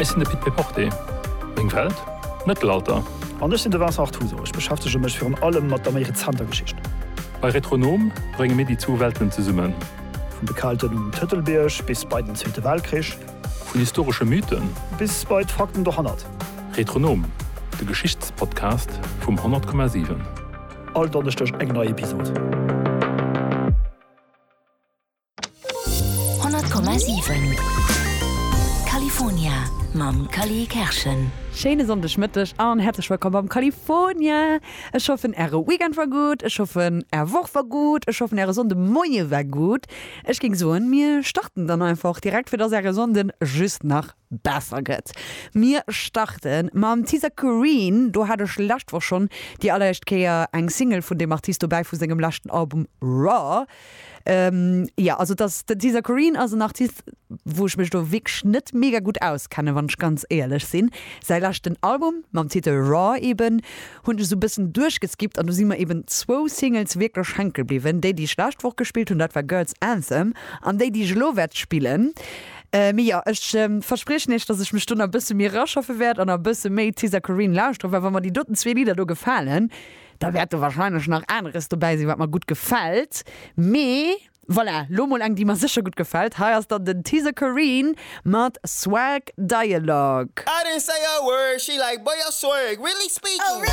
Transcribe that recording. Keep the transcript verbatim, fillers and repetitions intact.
Ech sinn de Pit Péporté. Meng Welt? Mëttelalter. An ech sinn de Vincent Artuso. Ech beschäftege mech virun allem mat der méi rezenter Geschicht. Bei Retronom brénge mir déi zwou Welten zesummen. Vun de Kelten um Tëtelbierg bis bei den Zweete Weltkrich. Vun historesche Mythen. Bis bei d'Fakten dohannert. Retronom, de Geschichtspodcast vum honnert Komma siwen. All Donneschdeg eng nei Episod. honnert Komma siwen California mam Cally Kerschen. Schéine Sonndegmëtteg an häerzlech wëllkomm beim California. Ech hoffen äre Weekend war gutt, ech hoffen är Woch war gutt, ech hoffen äre Sonndemoie war gutt. Ech géing soen, mir starten dann einfach direkt, fir dass äre Sonnden just nach besser gëtt. Mir starte mam Tisa Coreen, do hat ech lescht Woch schonn déi alleréischt Kéier eng Single vun deem Artist dobäi vu sengem leschten Album Raw. Ähm, ja, also das, den Tisa Coreen ass en Artist, wou ech mech do wierklech net mega gutt auskennen, wann ech ganz éierlech sinn. Säi leschten Album mam Titel Raw eben hunn ech esou e bëssen duerchgeskippt an do si mer eben zwou Singles wierklech hänke bliwwen. Déi, déi ech lescht Woch gespillt hunn, dat war Girls Anthem an déi, déi ech elo wäert spillen. Mee jo, ech verspriechen iech, dass ech mech do nach e bësse méi eraschaffe wäert an nach e bësse méi Tisa Coreen lauschteren, well wa mer déi doten zwee Lidder do gefalen, da wäert do wahrscheinlech nach aneres dobäi sinn, wat mer gutt gefält. Mee voilà, lo mol eng, déi mer sécher gutt gefält. Hei ass dann den Tisa Coreen mat Swag Dialogue. I didn't say a word, she like, boy, your swag really speaking.